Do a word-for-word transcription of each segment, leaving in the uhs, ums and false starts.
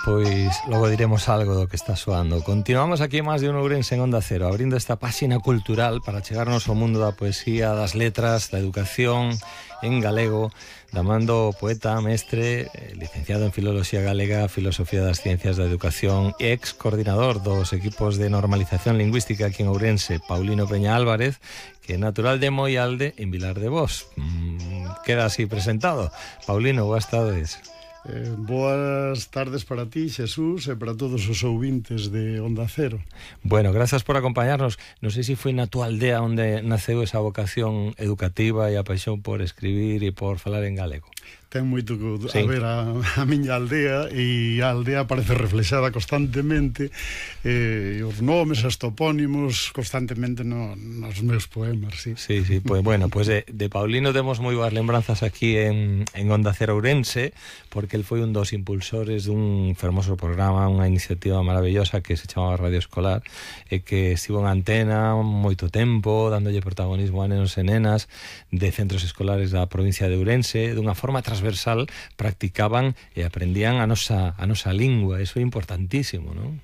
pois logo diremos algo do que está soando. Continuamos aquí máis de un Ourense en Onda Cero, abrindo esta páxina cultural para chegarnos ao mundo da poesía, das letras, da educación en galego, da man do poeta, mestre, licenciado en Filoloxía Galega, Filosofía das Ciencias da Educación e ex coordinador dos equipos de normalización lingüística aquí en Ourense, Paulino Peña Álvarez, que é natural de Moialde, en Vilar de Bos. Mm, queda así presentado. Paulino, boas tardes. Eh, boas tardes para ti, Xesús, e para todos os ouvintes de Onda Cero. Bueno, grazas por acompañarnos. Non sei se foi na túa aldea onde naceu esa vocación educativa e a paixón por escribir e por falar en galego. Ten moito que sí. a ver a, a miña aldea, e a aldea parece reflexada constantemente, eh, os nomes, os topónimos constantemente no, nos meus poemas, sí. Sí, sí, pues bueno, pues de, de Paulino temos moi boas lembranzas aquí en, en Onda Cero Ourense, porque el foi un dos impulsores dun fermoso programa, unha iniciativa maravillosa que se chamaba Radio Escolar, e que estivo en antena moito tempo, dándolle protagonismo a nenos e nenas de centros escolares da provincia de Ourense, dunha forma transversal, practicaban e aprendían a nosa, a nosa lingua. Eso é importantísimo, non?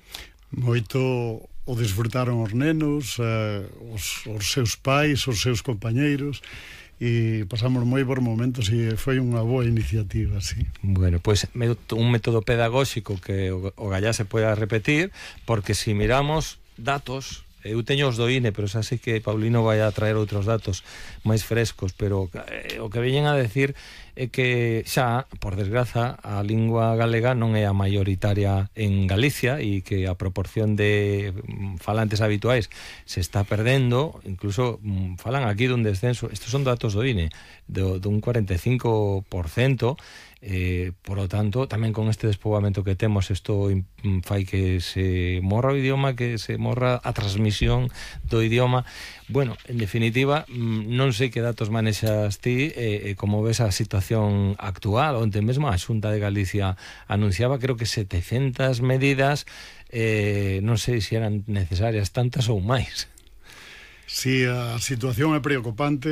Moito o disfrutaron os nenos, eh, os, os seus pais, os seus compañeiros, e pasamos moi por momentos e foi unha boa iniciativa, sí. Bueno, pues un método pedagóxico que o, o gallá se poida repetir, porque si miramos datos, eu teño os do I N E, pero xa sei que Paulino vai a traer outros datos máis frescos, pero eh, o que veñen a decir é que xa, por desgraza, a lingua galega non é a maioritaria en Galicia e que a proporción de falantes habituais se está perdendo, incluso falan aquí dun descenso, estes son datos do I N E, do, dun cuarenta e cinco por cento. Eh, por lo tanto, tamén con este despoboamento que temos, isto fai que se morra o idioma, que se morra a transmisión do idioma. Bueno, en definitiva, non sei que datos manexas ti, e eh, como ves a situación actual, onde mesmo a Xunta de Galicia anunciaba, creo que setecentas medidas, eh, non sei se eran necesarias tantas ou máis. Si, sí, a situación é preocupante.